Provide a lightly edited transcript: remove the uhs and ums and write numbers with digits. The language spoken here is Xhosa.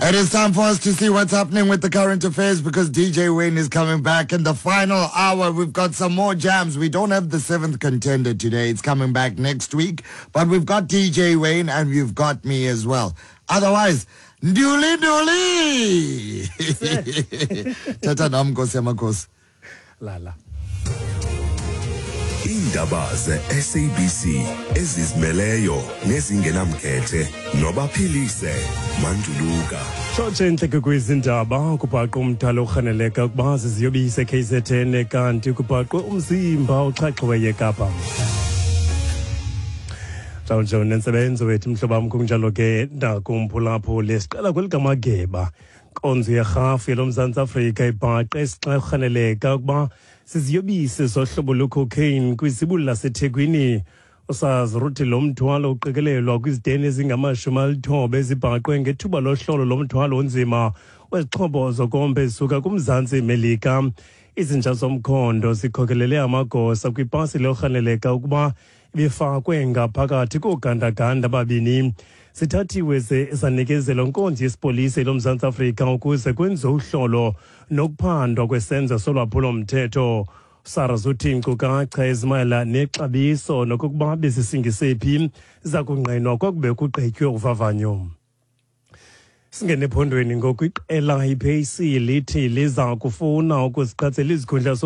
It is time for us to see what's happening with the current affairs because DJ Wayne is coming back in the final hour. We've got some more jams. We don't have the seventh contender today. It's coming back next week. But we've got DJ Wayne and you've got me as well. Otherwise, nduli nduli. Tata nam nkosi yamakhosi. Lala. Iindaba ze-SABC ezizimeleyo nezingenamkhethe nobaphilise manduluka. Tshotshe entleke kwizindaba kubhaqwe umdala orhaneleka ukuba ziziyobisi eKZN kanti kubhaqwe umzimba oxhaxhiweyo eKapa. Njalo nje nentsebenzo wethu mhlobo wam kunjalo ke nakumphulaphuli siqala kwelikamageba nkonzo yerhafu yelomzantsi Afrika ibhaqe isixarhaneleka ukuba siziyobisi zohlobo lwecocaine kwizibulo laseThekwini. Usazi ruthi lo mthwalo uqikelelwa kwiziteni ezingama-90 ezibhaqwe ngethuba lohlolo lomthwalo onzima wezixhobo zokomba ezisuka kumzantsi Melika. Izinja zomkhondo zikhokelele amagosa kwipasi lorhaneleka ukuba ibifakwe ngaphakathi koogandaganda ababini. Sithathiwe ze sanikezelwa nkonzo yesipolisa loMzantsi Afrika ukuze kwenziwe uhlolo nokuphandwa kwesenzo solwaphulo-mthetho. SARS uthi iinkcukacha ezimayela nexabiso nokokuba bezisingisephi zakungqinwa kwakube kugqitywe uvavanyo. Singene ephondweni ngoku iqela iPAC lithi liza kufuna ukuziqatsela izikhundla.